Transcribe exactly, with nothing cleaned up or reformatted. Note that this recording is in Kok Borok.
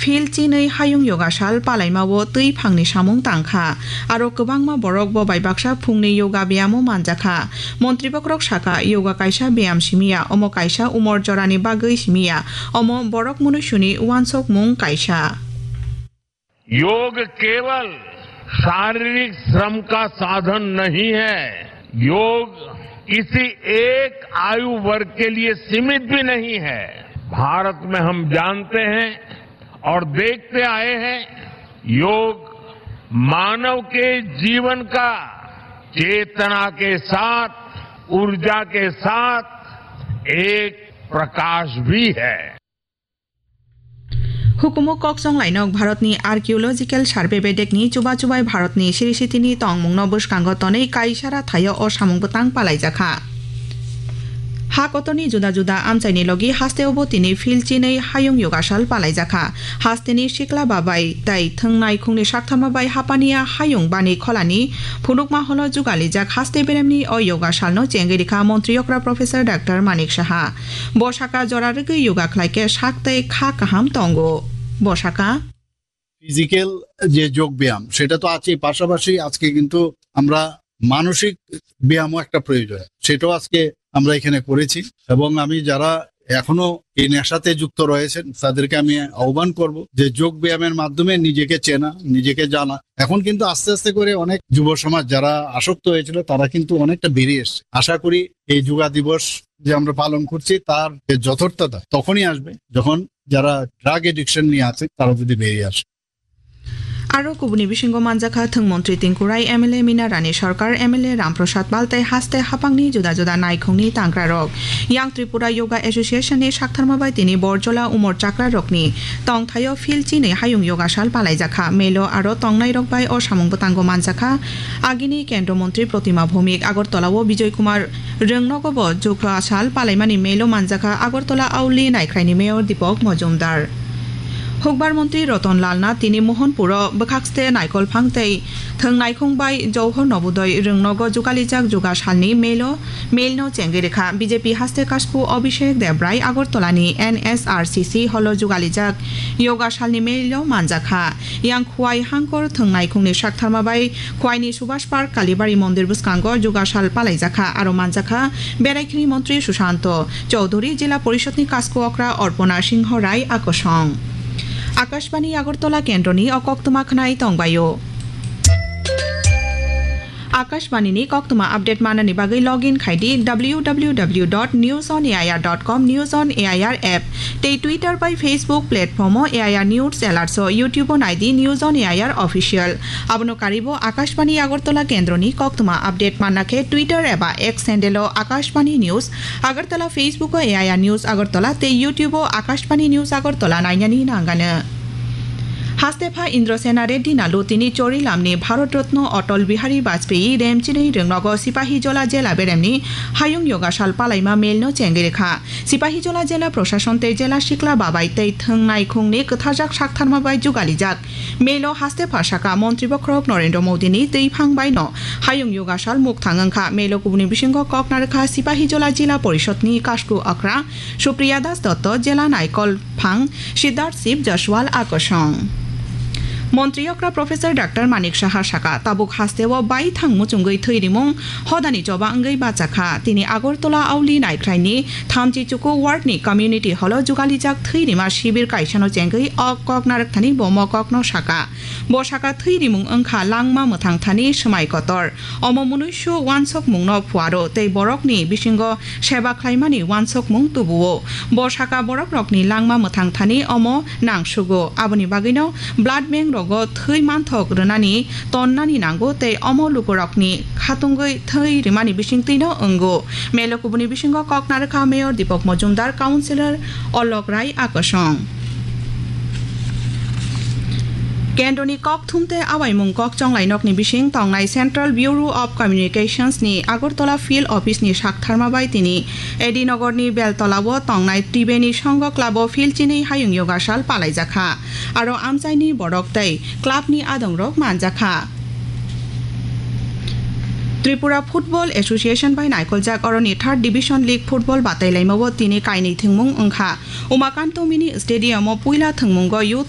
Field chinwi hayung yoga sal palaimao twi phangni samung tangkha. Aro kwbangma borok bo bai baksa phungni yoga beyamo manjakha. Montri bokhorok sakha, yoga kaisa beyam simiya, omo kaisa umor jorani bagwi simiya, omo borok munuisuni wansokmung kaisa. योग केवल शारीरिक श्रम का साधन नहीं है। योग किसी एक आयु वर्ग के लिए सीमित भी नहीं है। भारत में हम जानते हैं और देखते आए हैं, योग मानव के जीवन का चेतना के साथ, ऊर्जा के साथ एक प्रकाश भी है। Hukumu kok chonglainok Bharatni Archaeological Survey bedekni chuba chubai Bharatni siri sitini tongmungno bwskango tonwi kaisara thaio o samung bwtang palaijakha. Ha kotorni juda juda amchaini logi hasteo bo tini field chinwi hayung yogasal palaijakha. Hasteni sikla babai tai thwngnai khungni saktharma bai hapaniya hayung bani kholani phunukma holo jugalijak haste beremni o yogasalno chengwi rikha montri okra Professor Doctor Manik Saha. Bo saka jora rwgwi yoga khlai khe sak tei kha kaham tongo. Bo saka. Physical যে যোগ ব্যায়াম, সেটা তো আছেই, পাশাপাশি আজকে কিন্তু আমরা মানসিক ব্যায়ামও একটা প্রয়োজন, সেটাও আজকে আমরা এখানে করেছি। এবং আমি যারা এখনো এই নেশাতে যুক্ত রয়েছেন, তাদেরকে আমি আহ্বান করব যে যোগ ব্যায়ামের মাধ্যমে নিজেকে চেনা, নিজেকে জানা। এখন কিন্তু আস্তে আস্তে করে অনেক যুব সমাজ যারা আসক্ত হয়েছিল, তারা কিন্তু অনেকটা বেরিয়ে এসছে। আশা করি এই যোগা দিবস যে আমরা পালন করছি, তার যে যথার্থতা তখনই আসবে, যখন যারা ড্রাগ এডিকশন নিয়ে আছে, তারা যদি বেরিয়ে আসে। Aro kubuni bisingo manjakha thwng montri Tinku Rai, M L A Mina Rani Sarkar, M L A Ram Prasad Pal tei haste hapangni juda juda naikhungni tangrarok. Yang Tripura Yoga Association ni saktharma bai tini Borjola umor chakrarokni tongthaio field chinwi hayung yogasal palaijakha. Melo aro tongnairok bai o samung bwtango manjakha. Agini Kendro Montri Protima Bhowmik, Agartala o Bijoy Kumar Rwngnogo bo jukla sal palaimani melo manjakha Agartala Auli Naikhraini Mayor Deepak Mojumdar. Hukbar Montri Ratan Lal Nath tini Mohanpuro bwkhakste naikolphang tei thwng naikhung bai Johor Nobodoi Rwngnogo jugalijak juga salni melo, melno chengwi rikha. B J P haste kasku Abhishek Debrai Agartalani N S R C C holo jugalijak yoga salni melo manjakha. Yang Khwai hangkor thwng naikhungni saktharma bai Khwaini Subhash Park Kalibari Mondir bwskango jugasal palaijakha, aro manjakha Beraikhini Montri Sushanto Chowdhury, Jila Porishadni Kasku Okra Orpona Singho Rai Akosong. Akashbani Agartala Kendroni o koktwma khwnai tongbaio. Akashbani ni koktwma update manani bagwi login khai di W W W dot news on A I R dot com, News on A I R app tei Twitter bai Facebook platform o A I R News Alerts o, YouTube o nai di News on A I R Official. Abono karibo Akashbani Agartala Kendroni koktwma update manna khe Twitter eba X handle o Akashbani News Agartala, Facebook o A I R News Agartala tei YouTube o Akashbani News Agartala nainani nangano. Hastepha Indrasena Reddy Nalu tini Chorilamni Bharat Ratna Atal Bihari Vajpayee remchinwi rwngnogo Sipahijola jela beremni hayung yogasal palaima melno chengwi rikha. Sipahijola jela prosason tei jela sikla babai tei thwng naikhungni kwtharjak saktharma bai jugalijak. Melo haste phasaka Montri Bokhorok Narendra Modini twiphang baino hayung yogasal mukthang wngkha. Melo kubuni bisingo kok narwkha Sipahijola Jila Porishodni Kasku Okra Supriya Das Dotto, Jela Naikolphang Siddharth Shiv Jaswal Akosong. Montri Okra Professor Doctor Manik Saha saka, tabuk hasteo bai thang muchungwi thwi rimung hodani choba wngwi bachakha. Tini Agartala Auli Naikhraini thamchi chuku ward ni community hall o jugalijak thwi rima shibir kaisano chengwi o kok narwkthani bo mo kokno saka. Bo saka thwi rimung wngkha langma mwthang thani swmai kotor. Omo munuisu wansokmungno phuaro tei borokni bisingo seba khlaimani wansokmung tubuo. Bo saka borokrokni langma mwthang thani omo nangsugo. Aboni bagwino blood bank rogo thwi manthok rwnani tonnani nango tei omo lukurokni khatungwi thwi rimani bisingtwino wngo. Melo kubuni bisingo kok narwkha Mayor Deepak Mojumdar, Councillor Olok Rai Akosong. Kendroni kok thumte awaimung kok chonglai nokni bising tongnai Central Bureau of Communications ni Agartala Field Office ni saktharma bai tini A D Nagar ni Beltola o tongnai Tribeni Songho Club o field chinwi hayung yogasal palaijakha. Aro amchaini borok tei club ni adongrok manjakha. Tripura Football Association bai naikoljak oroni Third Division League Football batailaimao tini kainwi thwngmung wngkha. Umakanto Mini Stadium o puila thwngmungo youth